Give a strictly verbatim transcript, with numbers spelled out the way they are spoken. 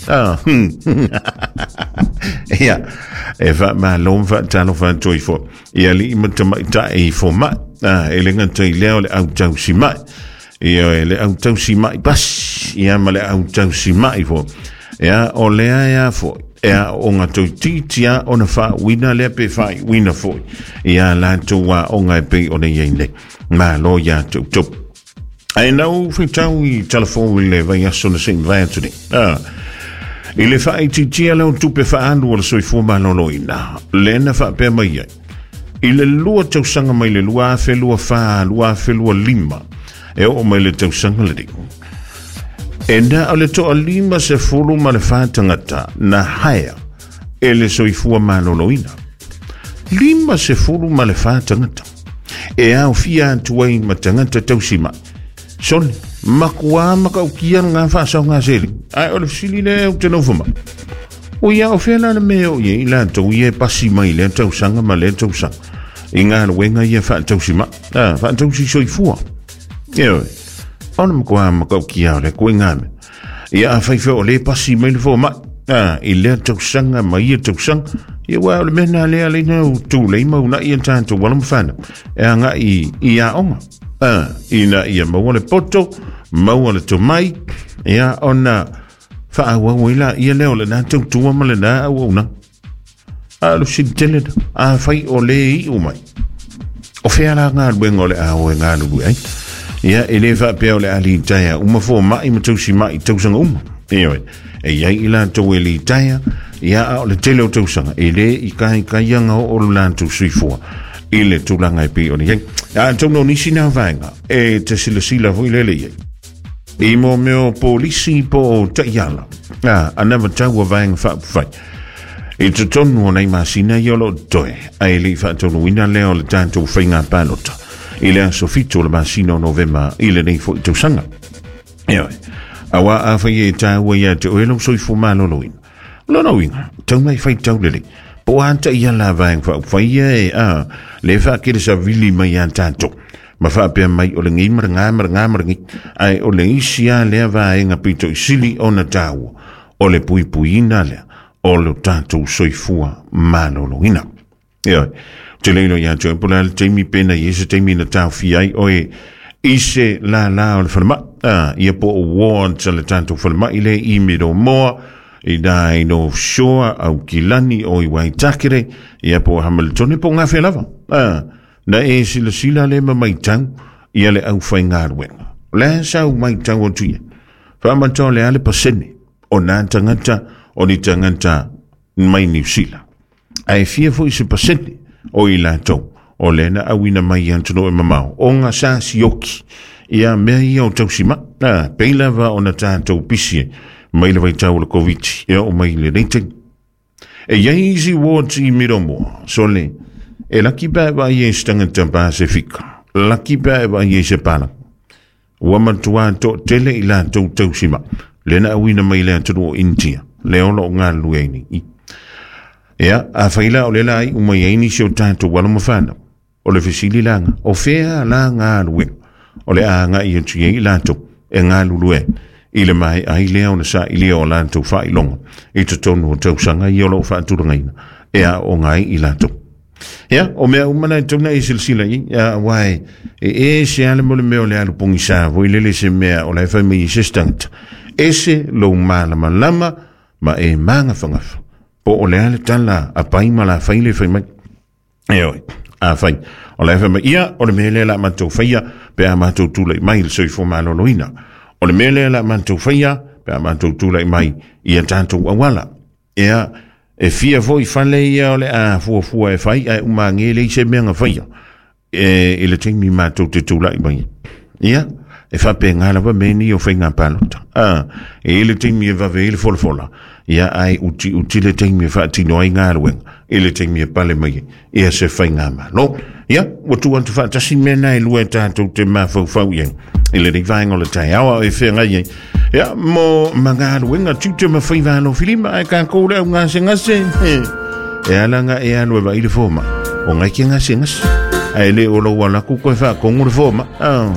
Ah, ia, e faamālō ma faatalofa atu ai foʻi i alii ma tamaitaʻi fomaʻi. Ah, e le gata i lea o le autausimaʻi, ia e le autausimaʻi pasi ia ma le autausimaʻi foʻi. Ia o lea ea foʻi e aʻoʻoga toititi a ona faauina lea pe faaiuina foʻi ia latou aʻoga e pei ona iai nei. Malo iā te outou. Ae na ou faitau i talafou i le vaiaso na seʻi vae atu nei. Ah. I le faaitiitia leo tupe faaalu o le soifua malōlōina, lea na faapea mai ai. I le lua tausaga mai le lua afe lua fā, lua afe lua lima, e oo mai le tausaga lenei. E na o le toalima sefulu ma le fā tagata na haea e le soifua malōlōina. Lima sefulu ma le fā tagata. E aofia atu ai ma tagata tausimaʻi. Sole, makuā matautia ngā whaasaoga sele. Ae o le fesili lea ou te nofo mai. O ia o fea la le mea o i latou ia e pasi mai lea tausaga ma lea tausaga. I galuega ia faatausimaʻi. Ah, faatausi soifua. Ioe. O le makuā matautia o le koe ngā mea. Ia afai foi o lē pasi mai le fomaʻi. Ah, i lea tausaga ma ia tausaga. Ia ua o le mea na lea leina u tūlei ma unaʻi a tatou alo ma fanau. E agaʻi i aoga. Ah, ina ia maua le poto, maua le tomai, ia ona faaauau ai laia lea o lenā tautua ma lenā auaunaga. A lo fesili tele na, afai o lē iʻu mai. O fea la galuega o le a o e galulue ai. Ia, e lē faapea o le a litaea uma fomaʻi ma tausimaʻi tausaga uma. Ioe, e iai i latou e litaea, ia a o le tele o tausaga, e lē i kaikaiaga oo lo latou soifua i le tulaga e pei ona iai. Atonu o nisi na vaega, e te silasila foi lele iai. I mo mea o polisi po o taiala. Ah, anavatau a vaega faaupufai. I totonu o nei masina ia o loo totoe, ae leʻi faataunuuina lea o le tatou faiga palota. I le aso fitu o le masina o Novema i lenei foʻi tausaga. Ioe. Auā afai e tāua ia te oe lou soifua malōlōina. Lona uiga, tau mai faitau lelei. Po a taiala a vaega faaupufai ia e a le faakele savili mai iā tatou. Ma faapea mai o lenei ma legā ma legā ma lenei. Ae o le isi a lea vaega pito i sili ona tāua. O le puipuiina lea o lo tatou soifua malōlōina. Ioe. Te leilo ia te po le taimi pena i se taimi na taofia ai oe i se lālā o le falemai. Ah, ia po o ward le tatou falemai le i Middlemore, i nā i North Shore, Aukilani o i Waitakere, ia po o Hamilton po o Ngawhea lava. Ah, na e silasila le ma maitau ia le aufaigaluega. O le a sau maitau atu ia. Faamatau le a le pasene o nā tagata o ni tagata mai Niu Sila. Ae fia foʻi se pasene o i latou o lea na auina mai i atunuu e mamao ona sa sioki ia mea ia o tausimaʻi. Ah, pei lava ona tatou pisi ai mai le vaitau o le Covid e oo mai lenei taimi. E iai isi wards i Middlemore, sole, e laki pe a e vaai ai se tagata Pasefika, laki pe a e vaai ai se palagi. Ua matuā toʻatele i latou tausimaʻi, lea na auina mai le atunuu o Initia, lea o loo galulue ai nei. Ia, afai la o lea la iʻu mai ai nisi o tatou alo ma fanau. O le fesili laga, o fea la galuega o le a agaʻi atu ai i latou e galulue ai i le maeʻa ai lea ona saʻilia o latou faailoga i totonu o tausaga ia o loo faatulagaina e aooga ai i latou. Ia, o mea uma na e tatau ona e silasila i ai, auā e ese lava le mo le mea o le alu pogisā foi lele se mea o la e fai mai i se isi tagata. Ese lou malamalama ma e magafagafa. Po o le a le tala a pai ma la fai le fai mai. Ioe, afai o la e fai mai, ia, o le mea lea o le a matou faia pe a matou tulai mai i le soifua malōlōina. O le mea lea o le a matou faia pe a matou tulai mai i a tatou auala. Ia, e fia foʻi fale ia o le a fuafua e fai, ae uma age e leai se mea na faia e, i le taimi matou te tulai mai. Ia, e faapegā lava mea nei o faiga palota. Ah, e i le taimi e vave ai le folafola, ia ae utiuti le taimi e faatino ai galuega, i le taimi e pale mai ai ia se faigamālō. Ia, ua tuu atu faatasi mea na e lua e tatou te mafaufau i ai i lenei vaega o le taeao a o e feagai ai. Ia, mo ma galuega tiute ma faiva alofilima, ae tatou le au gasegase, e ala ga e alu e vaai le fomaʻi, o gai ke gasegase. Ae le o lou alaku koe faakogo le fomaʻi. Ah.